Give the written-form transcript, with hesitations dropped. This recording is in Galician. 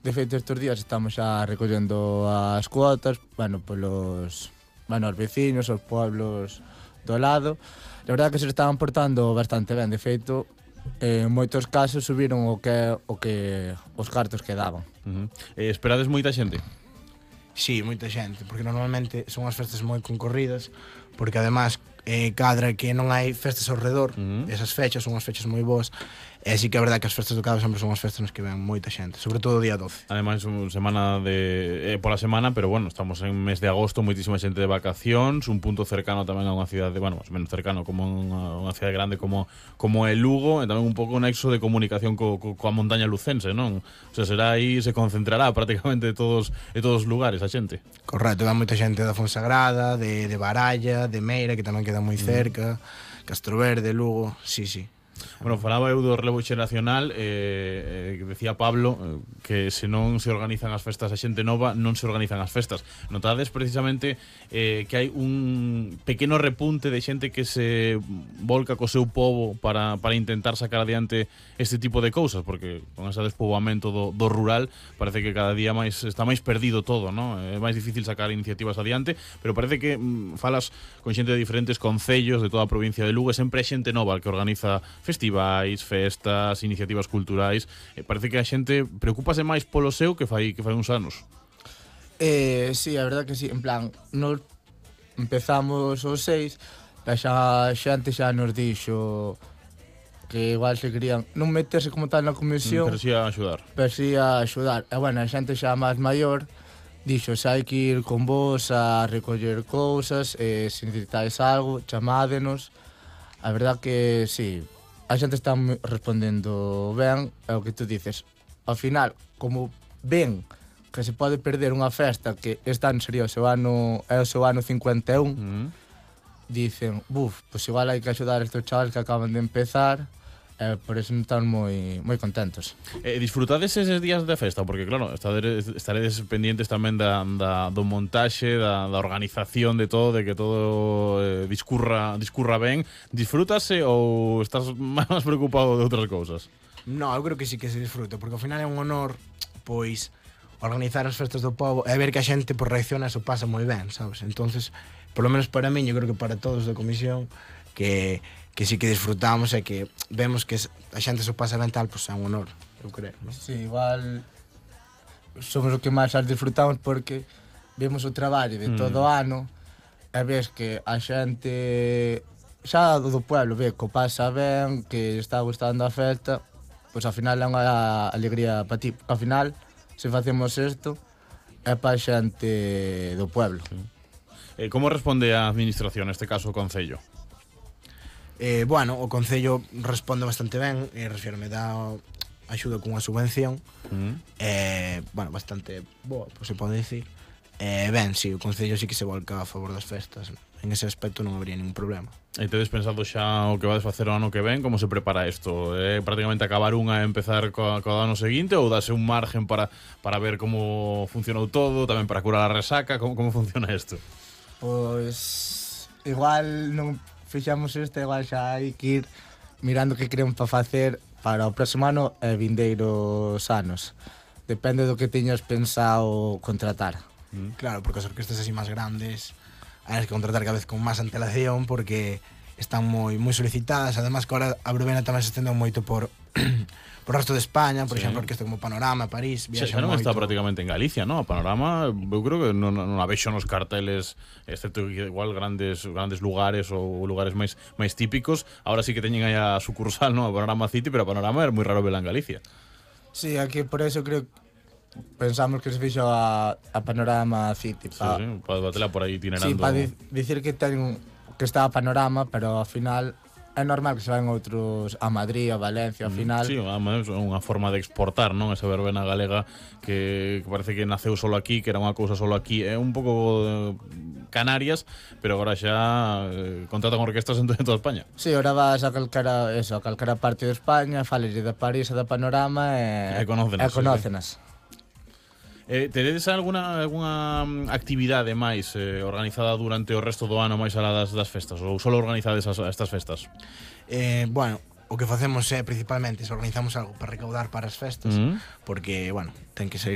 de feito estes días estamos xa recollendo as cuotas, polos os veciños, os pueblos do lado. La verdade que se estaban portando bastante ben, de feito, en moitos casos subiron o que os cartos que daban. Esperades moita xente? Sí, moita xente, porque normalmente son as festas moi concorridas, porque además cadra que non hai festas ao redor, esas fechas son as fechas moi boas, e sí que é verdade que as festas do Cabo sempre son as festas nas que ven moita xente, sobre todo o día 12. Ademais, semana pola semana, pero bueno, estamos en mes de agosto, moitísima xente de vacacións, un punto cercano tamén a unha cidade, máis menos cercano como unha cidade grande como é Lugo, e tamén un pouco un nexo de comunicación coa montaña lucense, non? O sea, será aí, se concentrará prácticamente todos os lugares a xente. Correcto, ven moita xente da Fonsagrada, de Baralla, de Meira, que tamén queda moi cerca, Castroverde, Lugo, sí. Bueno, falaba eu do relevo xeracional, decía Pablo que se non se organizan as festas a xente nova, non se organizan as festas. Notades precisamente que hai un pequeno repunte de xente que se volca co seu pobo para intentar sacar adiante este tipo de cousas, porque con ese despoboamento do rural parece que cada día está máis perdido todo, non? É máis difícil sacar iniciativas adiante, pero parece que falas con xente de diferentes concellos de toda a provincia de Lugo, e sempre hai xente nova que organiza festivais, festas, iniciativas culturais. Parece que a xente preocúpase máis polo seu que fai uns anos. Sí, a verdade que sí, en plan, nos empezamos os 6, xa xente xa nos dixo que igual se querían non meterse como tal na comisión, pero si a axudar. E bueno, a xente xa máis maior dixo, xa hai que ir con vos a recoller cousas, se necesitáis algo, chamádenos. A verdade que sí, a xente está respondendo ben, é o que tú dices. Ao final, como ven que se pode perder unha festa que este ano sería o seu ano 51, dicen, pois igual hai que axudar a estes chavales que acaban de empezar, por eso están moi contentos. Disfrutades eses días de festa, porque claro, estaredes pendientes tamén do montaxe, da organización de todo, de que todo discurra ben. Disfrútase ou estás máis preocupado de outras cousas? No, eu creo que sí que se disfruta, porque ao final é un honor, pois, organizar as festas do pobo e ver que a xente reacciona e se pasa moi ben, sabes? Entonces, por lo menos para mí, eu creo que para todos da comisión, que sí que disfrutamos e que vemos que a xente se pasa ben tal, pois é un honor, eu creo, non? Sí, igual somos o que máis as disfrutamos porque vemos o traballo de todo o ano e ves que a xente xa do pueblo ve que o pasa ben, que está gustando a festa, pois ao final é unha alegría para ti. Ao final, se facemos isto, é para a xente do pueblo. Como responde a administración, neste caso o Concello? Bueno, o Concello responde bastante ben, refírome dá axuda cunha subvención, bueno, bastante boa, se pode dicir. Ben, sí, o Concello sí que se volca a favor das festas, en ese aspecto non habría ningún problema. E tedes pensado xa o que vades facer o ano que ven? Como se prepara isto? Prácticamente acabar unha e empezar co ano seguinte, ou dase un margen para ver como funcionou todo, tamén para curar a resaca? Como funciona isto? Pois igual non fixamos isto, igual xa hai que ir mirando que queremos para facer para o próximo ano e vindeiros anos. Depende do que teñas pensado contratar. Claro, porque as orquestas así máis grandes hai que contratar cada vez con máis antelación porque están moi solicitadas. Además que ahora a verbena tamén se estendeu moito por o resto de España, por exemplo, orquesta como Panorama, París, Xa viaxan non moito. está prácticamente en Galicia, non? A Panorama, eu creo que non a vexo nos carteles, excepto igual grandes lugares ou lugares máis típicos. Ahora sí que teñen aí a sucursal, non? A Panorama City, pero a Panorama é moi raro vela en Galicia. Sí, aquí por eso creo pensamos que se fixo a Panorama City. Para batela por aí itinerando. Sí, para dicir que está a Panorama, pero ao final é normal que se van outros a Madrid, a Valencia, ao final. Sí, é unha forma de exportar, non? Esa verbena galega que parece que naceu solo aquí, que era unha cousa solo aquí. É un pouco Canarias, pero agora xa contratan orquestas en toda España. Sí, ahora vas a calcara parte de España, fales de París e da Panorama e conócenas. Teredes algunha actividade máis organizada durante o resto do ano máis alá das festas, ou só organizades estas festas? Bueno, o que facemos é principalmente se organizamos algo para recaudar para as festas, porque, bueno, ten que sair